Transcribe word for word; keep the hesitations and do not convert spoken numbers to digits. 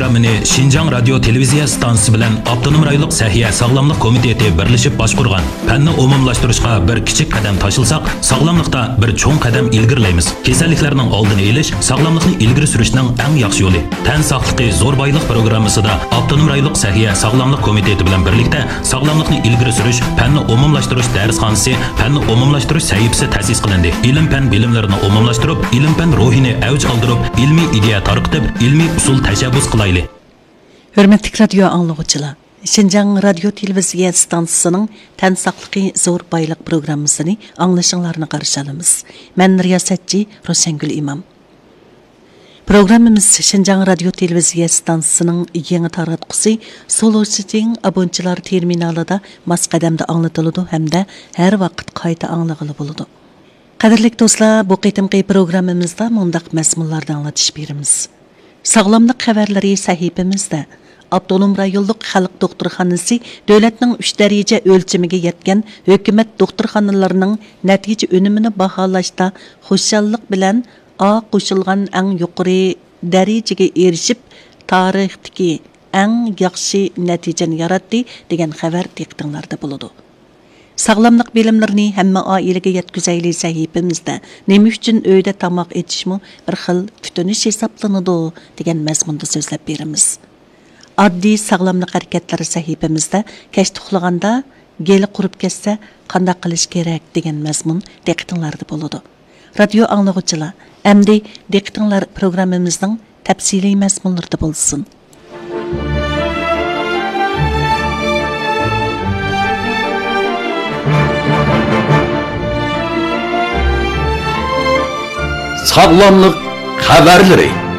پروگراممىنى شىنجاڭ رادىيو تېلېۋىزىيە ئىستانسىسى بىلەن ئاپتونوم رايونلۇق سەھىيە ساغلاملىق كومىتېتى بىرلىشىپ باشقۇرغان. پەننى ئومۇملاشتۇرۇشقا بىر كىچىك قەدەم تاشلىساق، ساغلاملىقتا بىر چوڭ قەدەم ئىلگىرىلەيمىز. كېسەللىكلەرنىڭ ئالدىنى ئېلىش، ساغلاملىقنى ئىلگىرى سۈرۈشنىڭ ئەڭ ياخشى يولى. تەن ساقلىقى زور بايلىق پروگراممىسىدا ئاپتونوم رايونلۇق سەھىيە ساغلاملىق كومىتېتى بىلەن بىرلىكتە ساغلاملىقنى ئىلگىرى سۈرۈش، پەننى ئومۇملاشتۇرۇش دەرسخانىسى، پەننى ئومۇملاشتۇرۇش سەھىپىسى تەسىس قىلىندى. ئىلىم-پەن بىلىملىرىنى ئومۇملاشتۇرۇپ، ئىلىم-پەن روھىنى ئەۋج ئالدۇرۇپ، ئىلمىي ئىدىيە تارقىتىپ، ئىلمىي ئۇسۇل تەشەببۇس قىلايلى. ھۆرمەتلىك رادىيو ئاڭلىغۇچىلار، شىنجاڭ رادىيو تېلېۋىزىيە ئىستانسىسىنىڭ تەن ساقلىقى زور بايلىق پروگراممىسىنى ئاڭلىشىڭلارنى قارشى ئالىمىز. مەن رىياسەتچى روشەنگۈل ئىمام. پروگراممىمىز شىنجاڭ رادىيو تېلېۋىزىيە ئىستانسىسىنىڭ يېڭى تاراتقۇسى سولۇشىتىڭ ئابونچىلار تېرمىنالىدا ماس قەدەمدە ئاڭلىتىلىدۇ ھەمدە ھەر ۋاقىت قايتا ئاڭلىغىلى بولىدۇ. قەدىرلىك دوستلار، بۇ قېتىمقى پروگراممىمىزدا مۇنداق مەزمۇنلارنى ئاڭلىتىش بېرىمىز. ساغلاملىق خەۋەرلىرى سەھىپىمىزدە ئاپتونوم رايونلۇق خەلق دوختۇرخانىسى دۆلەتنىڭ ئۈچ دەرىجە ئۆلچىمىگە يەتكەن ھۆكۈمەت دوختۇرخانىلىرىنىڭ نەتىجە ئۈنۈمىنى باھالاشتا خۇشاللىق بىلەن ئا قوشۇلغان ئەڭ يۇقىرى دەرىجىگە ئېرىشىپ، تارىختىكى ئەڭ ياخشى نەتىجىنى ياراتتى دېگەن خەۋەر دىققىتىڭلاردا بولىدۇ. ساغلاملىق بىلىملىرىنى ھەممە ئائىلىگە يەتكۈزەيلى سەھىپىمىزدە نېمە ئۈچۈن ئۆيدە تاماق ئېتىشمۇ بىر خىل كۈتۈنۈش ھېسابلىنىدۇ دېگەن مەزمۇندا سۆزلەپ بېرىمىز. ئاددىي ساغلاملىق ھەرىكەتلىرى سەھىپىمىزدە كەچتە ئۇخلىغاندا گېلى قۇرۇپ كەتسە قانداق قىلىش كېرەك دېگەن مەزمۇن دىققىتىڭلاردا بولىدۇ. رادىيو ئاڭلىغۇچىلار، ئەمدى دىققىتىڭلار پروگراممىمىزنىڭ تەپسىلىي مەزمۇنلىرىدا بولسۇن. ساغلاملىق خەۋەرلىرى.